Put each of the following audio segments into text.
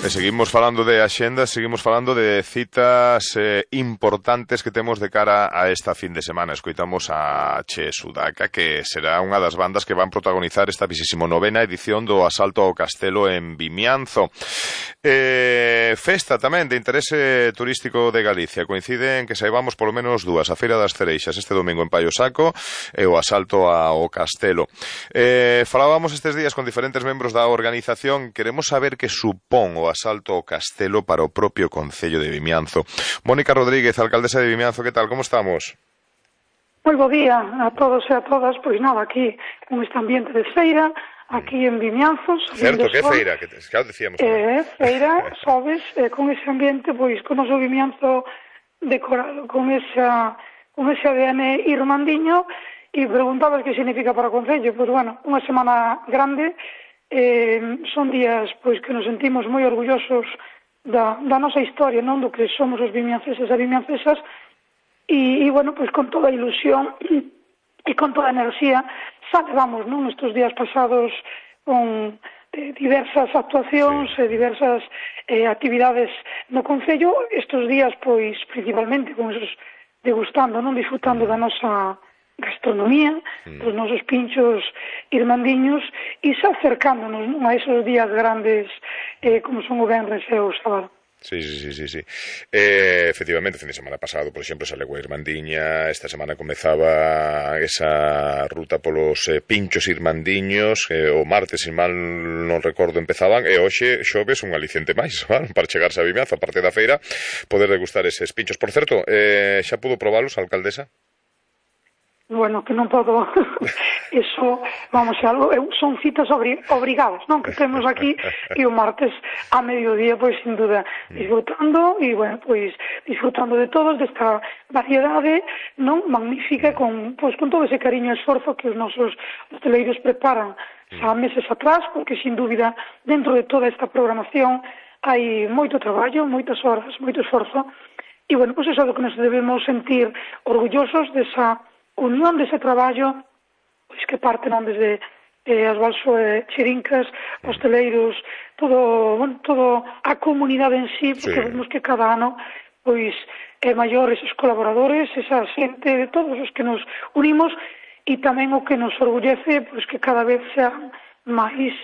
Seguimos falando de axendas, seguimos falando de citas importantes que temos de cara a esta fin de semana. Escoitamos a Che Sudaca, que será unha das bandas que van protagonizar esta 29ª edición do Asalto ao Castelo en Vimianzo. Festa tamén de interese turístico de Galicia. Coincide en que saibamos polo menos dúas: a Feira das Cereixas este domingo en Paio Saco e o Asalto ao Castelo. Falábamos estes días con diferentes membros da organización. Queremos saber que supón o Asalto ao Castelo para o propio Concello de Vimianzo. Mónica Rodríguez, alcaldesa de Vimianzo, que tal? Como estamos? Moi bo día a todos e a todas. Pois nada, aquí con este ambiente de feira, aquí en Vimianzo. Certo, que feira, que claro, decíamos. Feira, sabes, con ese ambiente, pois con o noso Vimianzo decorado, con ese ADN irmandiño. E preguntabas que significa para o Concello. Pois bueno, unha semana grande. Son días pois que nos sentimos moi orgullosos da nosa historia, non, do que somos os vimianceses e vimiancesas, e bueno, pois con toda a ilusión e con toda a enerxía celebramos, non, estes días pasados con diversas actuacións e diversas actividades no Concello. Estes días, pois, principalmente con esos degustando, non, disfrutando da nosa gastronomía, os nosos pinchos irmandiños, e xa acercándonos, non, a esos días grandes como son o venres e o sábado. Sí. Efectivamente, o fin de semana pasado, por exemplo, sale a Irmandiña. Esta semana comezaba esa ruta polos pinchos irmandiños. O martes, se mal non recordo, empezaban, e hoxe, xoves, un aliciente máis, ¿vale? Para chegarse a Vimianzo, a parte da feira, poder degustar eses pinchos. Por certo, xa pudo probalos a alcaldesa? Bueno, que non podo, eso, vamos, algo, son citas obrigadas, non, que temos aquí, e o martes a mediodía, pois, sin duda, disfrutando, e, bueno, pois, disfrutando de todos, desta variedade, non, magnífica, con todo ese cariño e esforzo que os nosos hoteleiros preparan xa meses atrás, porque, sin dúbida, dentro de toda esta programación, hai moito traballo, moitas horas, moito esforzo, e, bueno, pois, eso é do que nos debemos sentir orgullosos desa unión dese traballo, pois que parte, non, desde as Balso e Chirincas, hosteleiros, todo a comunidade en sí, porque vemos que cada ano pois é maior esos colaboradores, esa xente de todos os que nos unimos, e tamén o que nos orgullece, pois que cada vez sean máis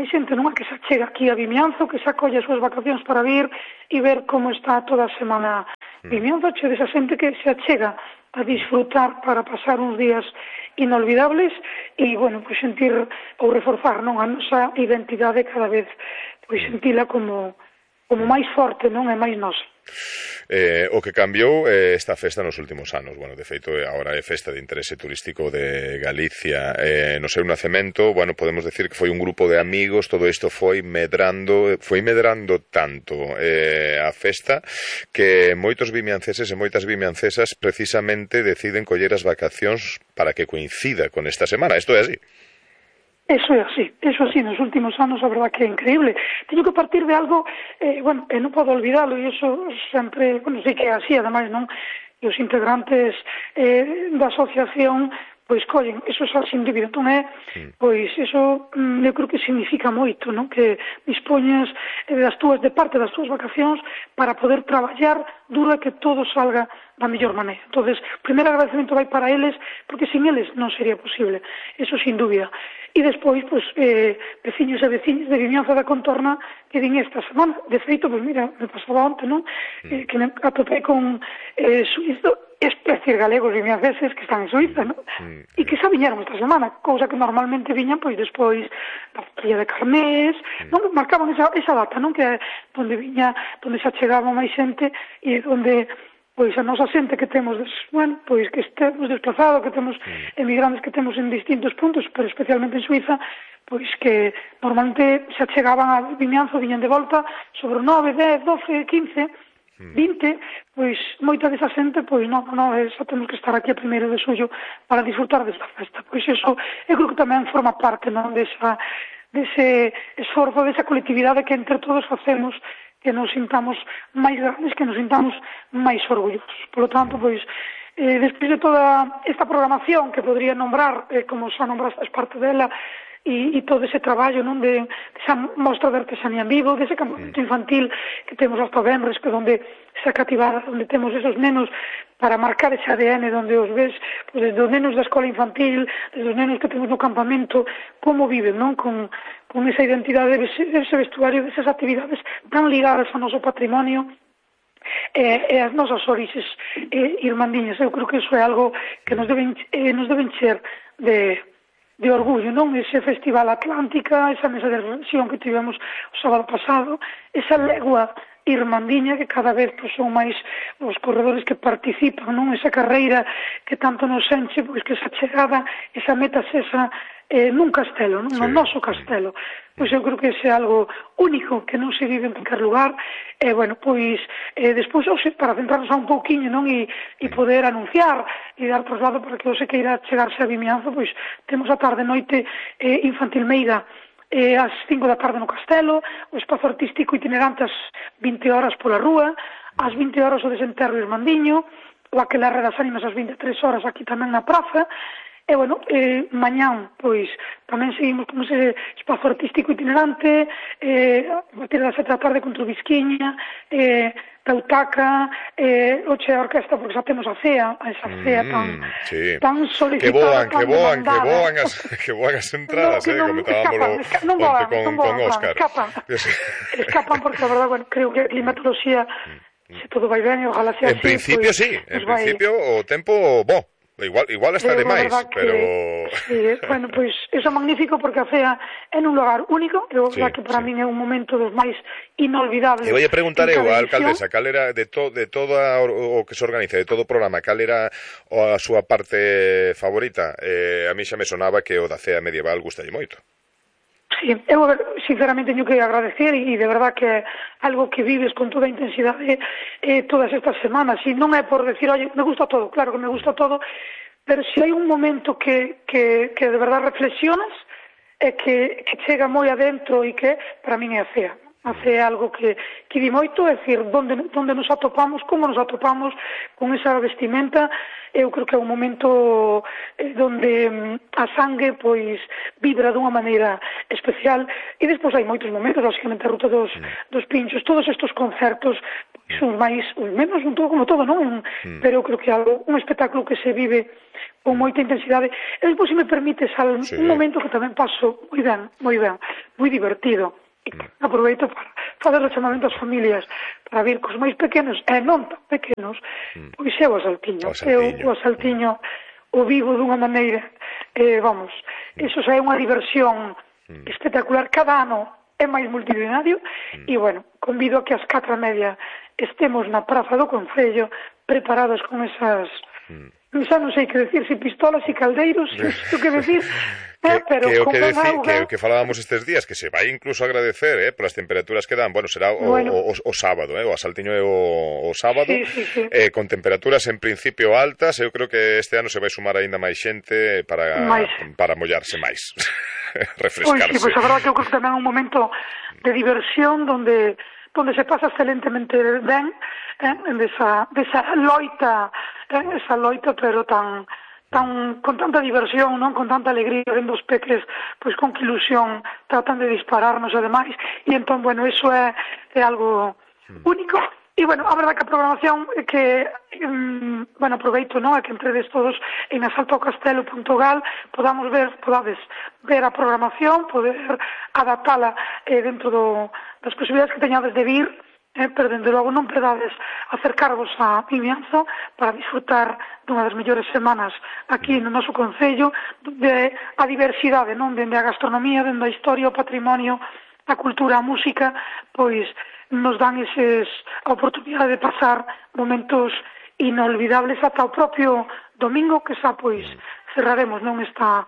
xente, non, que se achega aquí a Vimianzo, que se acolle as súas vacacións para vir e ver como está toda a semana Vimianzo, che desa xente que se achega a disfrutar para pasar uns días inolvidables e, bueno, pois sentir ou reforzar, non, a nosa identidade cada vez, pois sentila como máis forte, non, e máis nosa. O que cambiou esta festa nos últimos anos, bueno, de feito agora é festa de interese turístico de Galicia, no seu nacemento, bueno, podemos decir que foi un grupo de amigos, todo isto foi medrando tanto a festa que moitos vimianceses e moitas vimiancesas precisamente deciden coller as vacacións para que coincida con esta semana. Isto é así. Eso é así, nos últimos anos a verdad que é increíble. Teño que partir de algo, bueno, non podo olvidalo, e iso sempre, bueno, sei que é así, ademais, non, e os integrantes da asociación, pois collen, eso xa sin dúbida, entón pois iso, eu creo que significa moito, non, que dispoñas de parte das túas vacacións para poder traballar duro e que todo salga da mellor maneira. Entonces, o primeiro agradecemento vai para eles, porque sin eles non sería posible, eso sin dúbida. E despois, pois, veciños e veciñas de Vimianzo da Contorna que din esta semana. De feito, pois mira, me pasaba onte, non? Que me atopei con suizo, es decir, galegos vimianceses que están en Suiza, non? E que xa viñeron esta semana, cousa que normalmente viñan, pois, despois da feria de Carnés, non? Marcaban esa data, non? Que é onde viña, onde se achegaba máis xente e onde pois a nosa xente que temos, bueno, pois que estemos desplazado, que temos emigrantes que temos en distintos puntos, pero especialmente en Suiza, pois que normalmente se achegaban a Vimianzo, viñan de volta sobre 9, 10, 12, 15, 20, pois moita desa xente, pois non, xa temos que estar aquí a 1 de xullo para disfrutar desta festa. Pois eso, eu creo que tamén forma parte, non, dese esforzo, desa colectividade que entre todos facemos, que nos sintamos máis grandes, que nos sintamos máis orgullosos. Por lo tanto, pois, despois de toda esta programación que podría nombrar, como xa nombraste parte dela, e todo ese traballo, non, de esa mostra de artesanía en vivo, dese campamento infantil que temos hasta o venres, que donde esa cativada, onde temos esos nenos para marcar ese ADN, donde os ves, pues, desde os nenos da escola infantil, desde os nenos que temos no campamento, como viven, non? Con esa identidade, ese vestuario, desas actividades tan ligadas ao noso patrimonio, e as nosas orixes irmandiñas. Eu creo que iso é algo que nos deben encher de orgullo, non? Ese Festival Atlántica, esa mesa de reflexión que tivemos o sábado pasado, esa legua irmandiña que cada vez pues, son máis os corredores que participan, non? Esa carreira que tanto nos enche, pois que esa chegada, esa meta esa nun castelo, non? No noso castelo. Pois eu creo que ese é algo único que non se vive en qualquer lugar. Bueno, pois despois, para centrarnos a un pouquiño, non? E poder anunciar e dar traslado para que você queira chegarse a Vimianzo, pois temos a tarde noite infantil meiga ás 5 da tarde no castelo, o espazo artístico itinerante ás 20 horas pola rúa, ás 20 horas o desenterro irmandiño, o aquelarre das ánimas ás 23 horas aquí tamén na praza. E, bueno, mañán, pois, tamén seguimos con ese espazo artístico itinerante, a partir das 7 da tarde con Trubisquiña, Tautaca, oche a orquesta, porque xa temos a cea, esa cea tan solicitada, que voan as entradas, comentábamos con Óscar. Escapan porque, a verdade, bueno, creo que a climatoloxía, se todo vai ben, e ojalá sea así. En principio, sí, en principio, o tempo, bo. Igual está de máis, pero... Sí, bueno, pois, iso é magnífico porque a cea é nun lugar único, e que para min é un momento dos máis inolvidables. E vai a preguntar eu a alcaldesa, cal era de todo o que se organiza, de todo o programa, cal era a súa parte favorita? A mí xa me sonaba que o da cea medieval gustalle moito. Sí, eu sinceramente teño que agradecer e de verdad que é algo que vives con toda a intensidade todas estas semanas, e non é por decir, oye, me gusta todo, claro que me gusta todo, pero se hai un momento que de verdad reflexionas é que chega moi adentro e que para min é a cea. Hace algo que di moito, é dicir, donde nos atopamos, como nos atopamos con esa vestimenta. Eu creo que é un momento donde a sangue pois vibra dunha maneira especial, e despois hai moitos momentos, lógicamente a ruta dos pinchos, todos estes concertos son máis, menos un todo como todo, non? Pero eu creo que é un espectáculo que se vive con moita intensidade. E despois, se me permites, un momento que tamén paso moi ben, moi divertido. Aproveito para fazer o chamamento ás familias para vir cos máis pequenos e non tan pequenos, pois é o Asaltiño. O Asaltiño o vivo dunha maneira, vamos, iso xa é unha diversión espectacular. Cada ano é máis multitudinario e, bueno, convido a que ás 4:30 estemos na praza do Concello preparados con esas... xa non sei que decir, se pistolas e caldeiros, isto que decir... que falábamos estes días, que se vai incluso agradecer polas temperaturas que dan, bueno, será o sábado, o Asaltiño é o sábado, sí. Con temperaturas en principio altas. Eu creo que este ano se vai sumar aínda máis xente para mollarse máis, refrescarse. Pois a verdade que eu creo que tamén é un momento de diversión donde se pasa excelentemente ben, desa loita, pero con tanta diversión, non, con tanta alegría, vendo os peques pois con que ilusión tratan de dispararnos e demais, e entón, bueno, iso é algo único. E, bueno, a verdade que a programación é que, bueno, aproveito, non, é que entredes todos en asaltocastelo.gal, podades ver a programación, poder adaptala dentro das posibilidades que teñades de vir, pero, dende logo, non perdades acercarvos a Vimianzo para disfrutar dunha das mellores semanas aquí no noso Concello, de a diversidade, non, dende a gastronomía, dende a historia, o patrimonio, a cultura, a música, pois nos dan a oportunidade de pasar momentos inolvidables ata o propio domingo, que xa, pois, cerraremos, non, esta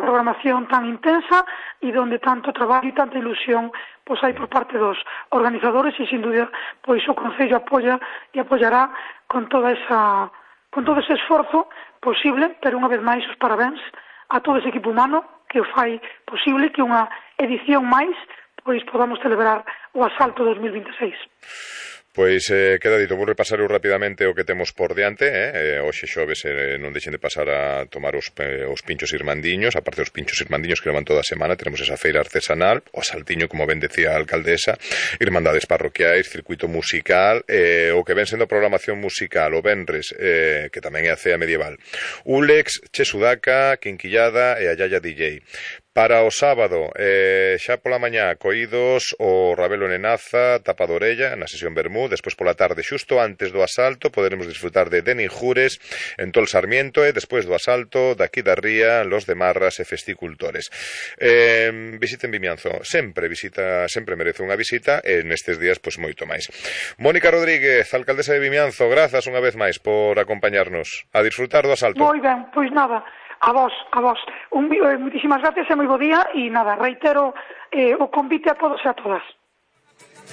programación tan intensa e donde tanto traballo e tanta ilusión pois hai por parte dos organizadores, e sin dúbida pois o Concello apoia e apoiará con todo ese esforzo posible. Pero unha vez máis os parabéns a todo ese equipo humano que o fai posible que unha edición máis pois podamos celebrar o Asalto 2026. Pois queda dito, vou repasar rapidamente o que temos por diante, hoxe xoves non deixen de pasar a tomar os pinchos irmandiños, aparte dos pinchos irmandiños que levan toda a semana, tenemos esa feira artesanal, o saltiño, como ben decía a alcaldesa, irmandades parroquiais, circuito musical, o que ven sendo programación musical, o venres, que tamén é a cea medieval, Ulex, Che Sudaca, Quinquillada e a Yaya DJ. Para o sábado, xa pola mañá, coídos o Rabelo Nenaza, Tapa de Orella, na sesión Bermú, despois pola tarde, xusto antes do asalto, poderemos disfrutar de Denin Jures, en Tol Sarmiento, e despois do asalto, daqui da Ría, Los de Marras e Festicultores. Visiten Vimianzo, sempre merece unha visita, e nestes días, pois, moito máis. Mónica Rodríguez, alcaldesa de Vimianzo, grazas unha vez máis por acompañarnos a disfrutar do asalto. Moi ben, pois nada, a vos. Moitísimas gracias e moi bo día, e nada, reitero o convite a todos e a todas.